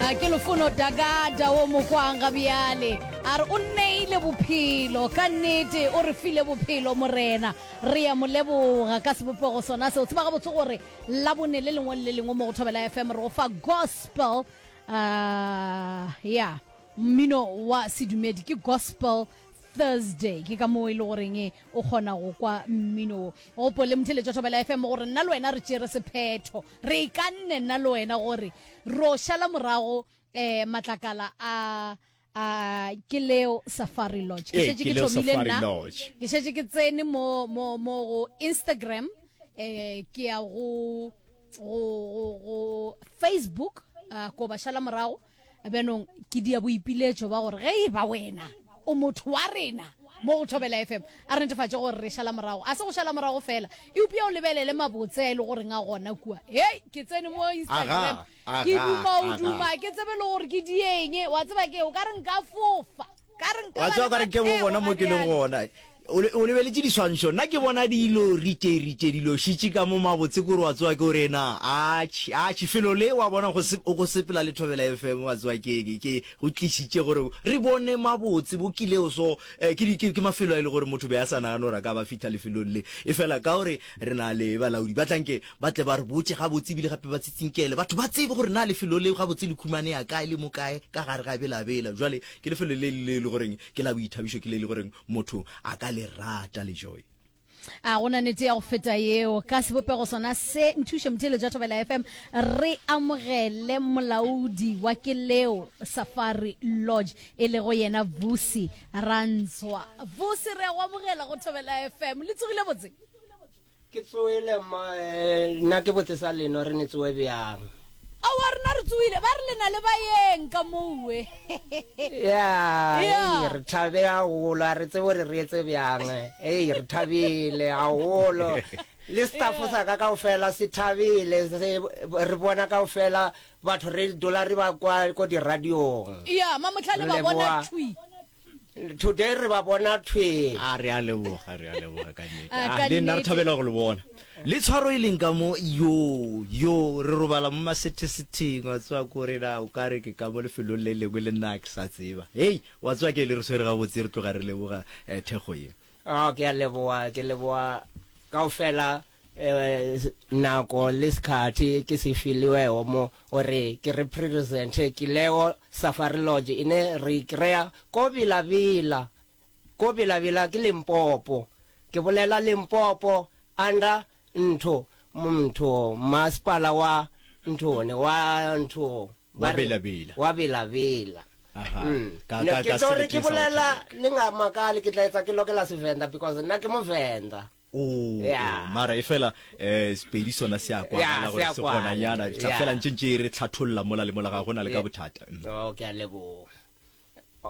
Ke Lufuno Dagada wo mokwang ga bjale a re o neile bophelo ka nnete o re file bophelo morena re ya mo leboga ka sebopego sona seo tseba gabotse gore labone le lengwe le le lengwe mo go Thobela FM re go fa gospel uh, ya mmino wa sedumedi ke gospel Thursday ke ka moo e le goreng o kgona go kwa mmino wo. Gopole motheeletši wa Thobela FM gore nna le wena re tšere sephetho, re ikanne nna le wena gore ro šala morago um matlakala a a ke leo Safari Lodge. Ke Ee, šetše ke ke Leo thomile Safari nna, Lodge. ke šetše ke tsene mo mo mo go Instagram eh ke ya go go go go Facebook uh, ko ba šala morago Bjanong ke dia boipiletšo ba gore ge e ba wena o motho wa rena mo go Thobela FM, a re netefatše gore re šala morago. A se go šala morago fela, eupša o lebelele mabotse a e le goreng a gona kua. Hei, ke tsene mo Instagram, Aga, ke aga, duma o aga. duma, ke tsebe le gore ke dieng. Wa tseba ke, o ka re nka fofa, ka re nka Wa ba tseba le ka re ke bo maphego bona ga mo ke leng bjale. gona. O le- o lebeletše diswantšho, nna ke bona dilo ritše ritše dilo šitše ka mo mabotse kore wa tsewa ke gore na atšhe atšhe felo le wa bona go se go sepela le Thobela FM wa tsewa ke ke ke go tlišitše gore re bone mabotse bo kileo so eh, ke di- ke ke mafelo a e le gore motho be a sa nagane gore a ka ba fihla lefelong le e fela ka gore re na le balaodi ba tlanke ba tle ba re botše gabotse ebile gape ba tsitsinkele batho ba tsebe gore na lefelo le gabotse le khumanea kae le mo kae ka gare ga Bela-Bela jwale ke lefelo le le le goreng ke la boithabišo ke le le goreng motho a ka le rata le joy. A go na nete ya go feta yeo? Ka sebopego sona se, nthuše motheeletši wa Thobela FM, re amogele molaodi wa Keleo Safari Lodge, e lego yena Vusi Rantswa. Vusi, re a go amogela go Thobela FM. Le tsogile botse? Ke tsoele mma, eh, nna ke botse sa leno re ne tsoe bjang. Aowa rena re tsoile, ba re le na le baeng ka mowe. Ya, Ya. ei, re thabe haholo, a re tsebe gore re etse bjang. Ei, re thabile haholo. Le staff sa ka kaofela se thabile, se re bona kaofela batho re dula re ba kwa ko di-radiong. Ya, mamohlale Re ba bona leboha. thwi. Today re ba bona thwi. A re a leboga, re a leboga ka nnete. A, A, ka le nna re nnete. thabela go le bona. Le tshwaro e leng ka mo, yoo, yoo, re robala mo masetheseteng, wa tseba ko re na o ka re ke ka mo lefelong le lengwe le nna ke sa tseba. Hei, wa tseba ke le re swere gabotse, re tloga re leboga eh, thekgo ye. Oh, ke a leboga, ke leboga kaofela eh, nako le sekhathi ke se filiwego mo gore ke represente Kileo Safari Lodge ine re e kry-a ko Bila-Bila, ko Bila-Bila ke Limpopo. Ke bolela Limpopo under ntho ntho masepala wa nthone wa ntho Wa ba re Bila-Bila. wa Bila-Bila. Aha. Mm. Ka, Ne ka, ke ka tlo re ke seleteng sa bolela Botlhokwa. le nga makale ke tla etsa ke lokela Sevenda because nna ke Movenda. Oh, Yeah. oh, mara e fela eh Sepedi sona se a Yeah, kwagala se gore a se kwala. gona nyana tla Yeah. fela ntše ntše re tlhatholla mola le mola ga gona le ka Yeah. bothata Mm. Oh, ke a leboga.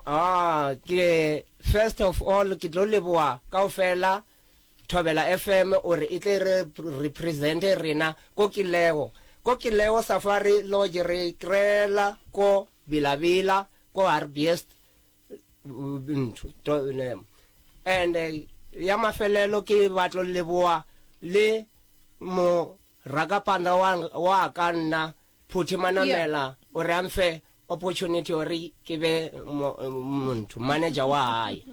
Ah, ke first of all ke tlo leboga kaofela Thobela FM ore e tle re represente rena ko Kileo. Ko Kileo Safari Lodge re kry-ela ko Bila-Bila, ko Hartbeest ntho to ne and eh, ya mafelelo ke batlo leboa le mo rakapanda wa wa ka nna Phuthi Manamela o re a mfe opportunity gore ke be motho manager wa hae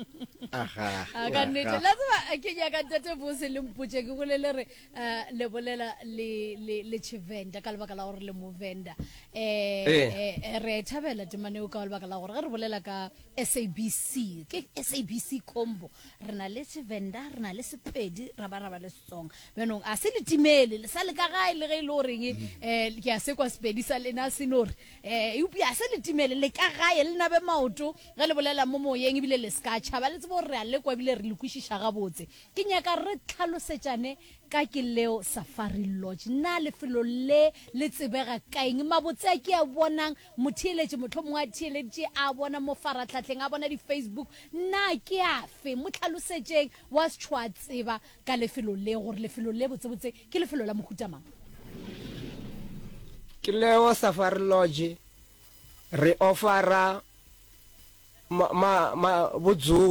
Aha. A, ka nnete la tseba ke nyaka ntate bose le mpotše ke bolele re eh, le bolela le le le tšhivenda ka lebaka la gore le movenda eh, Ee. eh, re a e thabela temaneo ka lebaka la gore ge re bolela ka sabc ke sabc combo re na le tšhivenda re na le sepedi ra ba ra ba le setsonga bjanong a se le timele le sa le ka gae le ge e le goreng um ke a se kwa sepedi sa lena se no re um eupša a se le timele le ka gae le nabe maoto ge le bolela mo moyeng ebile le se ka tšhaba le tsebe gore re a lekwa ebile re le kwešiša gabotse Ke nyaka re tlhalosetšane ka ke leo Safari Lodge. Na lefelo le le tsebega ka eng? Mabotse a ke a bonang, motheeletši mohlomongwe a theeleditše a bona mo farahlahleng, a bona di-Facebook, na ke afe? Mo hlalosetšeng wa setšho a tseba ka lefelo le, gore lefelo le botsebotse ke lefelo la mohuta mang. Ke leo Safari Lodge re offera ma, ma, ma, bodzulo.